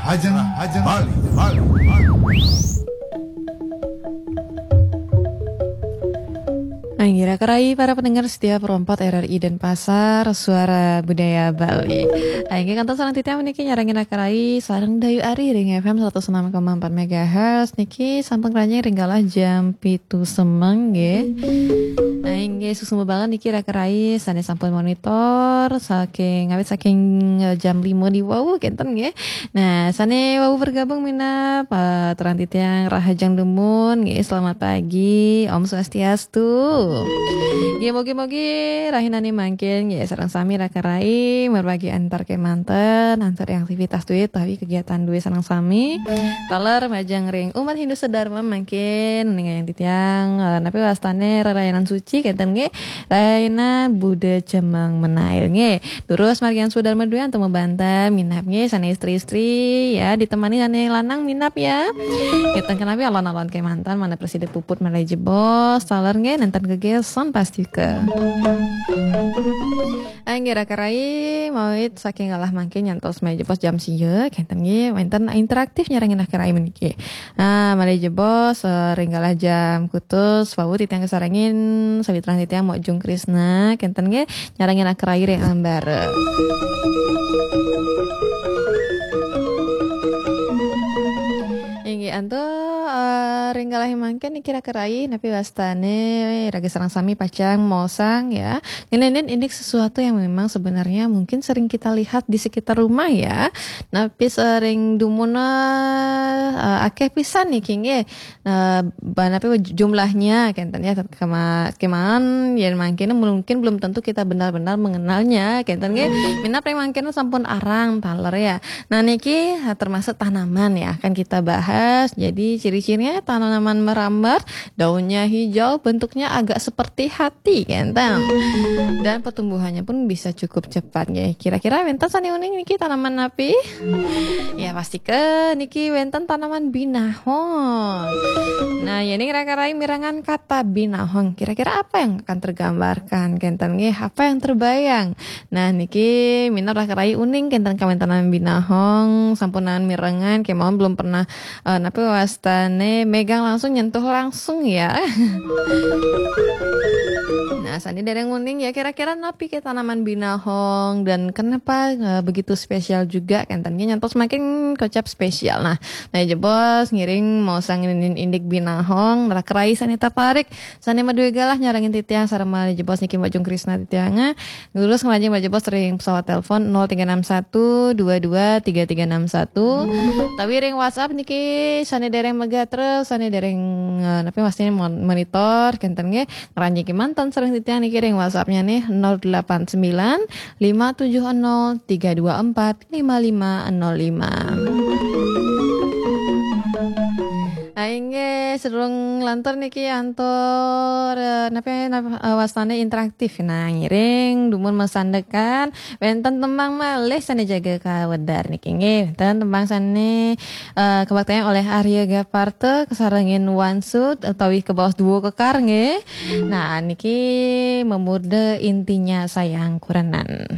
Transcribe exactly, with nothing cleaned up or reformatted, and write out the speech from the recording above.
Ajeng, ajeng. Bali, Bali, Bali. Anggira kerai para pendengar setia Pro empat R R I Denpasar, Suara Budaya Bali. Angge kantos sareng titiang niki nyarengin kerai sareng Dayu Ari ring F M seratus enam koma empat megahertz niki sampun keranjing ring galah jam pitu semeng nggih. Nah, inggih suksma banget niki kerai sane sampun monitor saking ngawit saking eh, jam lima di wau kenten nggih. Nah, sane wau bergabung minab eh, terang titiang rahajeng dumun nggih. Selamat pagi, Om Swastiastu. Nggih, mugi-mugi rahinane mangkin nggih sareng sami kerai merwagi antar kemanten, antar aktivitas duwe utawi kegiatan duwe sareng sami. Taler majeng ring umat Hindu sedharma mangkin ningayang titiang eh, napi wastane rerayanan suci kenten nggih. Raina Buddha Cemeng Menail nggih. Terus margian Sudarma duwe antuk mabanten minab nggih sane istri-istri ya ditemani sane lanang minab ya. Kenten kenapi alon-alon kemanten mana presida puput malih jebos taler nggih nenten gegeson pastika. Anggira kerai mawit saking galah mangke nyantos malih jebos jam sia kenten nggih wenten interaktif nyarengin kerai meniki. Ah, malih jebos eh, ring galah jam kutus wau titiang kasarengin sawitran titiang Mok Jung Krisna kenten nggih nyarengin kerai ring ambara. Inggih antuk eh, ring galah mangke niki kerai napi wastane raga sareng sami pacang mosang ya. Ngeninin indik sesuatu yang memang sebenarnya mungkin sering kita lihat di sekitar rumah ya. Napi sering dumun eh, akeh pisan niki nggih. Eh, banapi jumlahnya kenten ya kema keman yen mangkene mungkin belum tentu kita benar-benar mengenalnya kenten nggih. Minab ring mangkene sampun arang taler ya. Nah niki eh, termasuk tanaman ya akan kita bahas. Jadi ciri-cirinya tanaman merambat, daunnya hijau, bentuknya agak seperti hati kenten. Dan pertumbuhannya pun bisa cukup cepat nggih. Kira-kira wenten sane uning niki tanaman napi? Ya pasti ke niki wenten tanaman binahong. Nah, ya ini kira-kira mirengang kata binahong. Kira-kira apa yang akan tergambarkan kenten nggih? Apa yang terbayang? Nah, niki minab kerai uning kenten kawentanan binahong sampunan mirengang kemawon belum pernah eh, napi wastane megang langsung nyentuh langsung ya. Nah, sane dereng uning ya kira-kira napi ke tanaman binahong dan kenapa eh, begitu spesial juga kenten nyantos makin kocap spesial. Nah, nah jebos ngiring mosang indik binahong kerai sane taparik sane madue galah nyarengin titiang sareng malih jebos niki Mbak Jung Krisna titiang. Terus ngelajeng malih jebos ring pesawat telepon nol tiga enam satu dua dua tiga tiga enam satu. Tapi ring WhatsApp niki sane dereng megah terus sane dereng eh, napi maksudnya mon- monitor kenten nggih. Ngranjing kemanten sareng titiang niki ring WhatsApp-nya nih nol delapan sembilan lima tujuh nol tiga dua empat lima lima nol lima. Ah, inggih, sedurung lantur niki antuk eh, napi napa eh, wastane interaktif. Nah, ngiring dumun masandekan wenten tembang malih sane jaga kawedar niki nggih. Wenten tembang sane eh, kabaktiang oleh Arya Gaparta kasarengin Wansut utawi kebaos duo kekar nggih. Nah, niki memurda intinya sayang kurenan.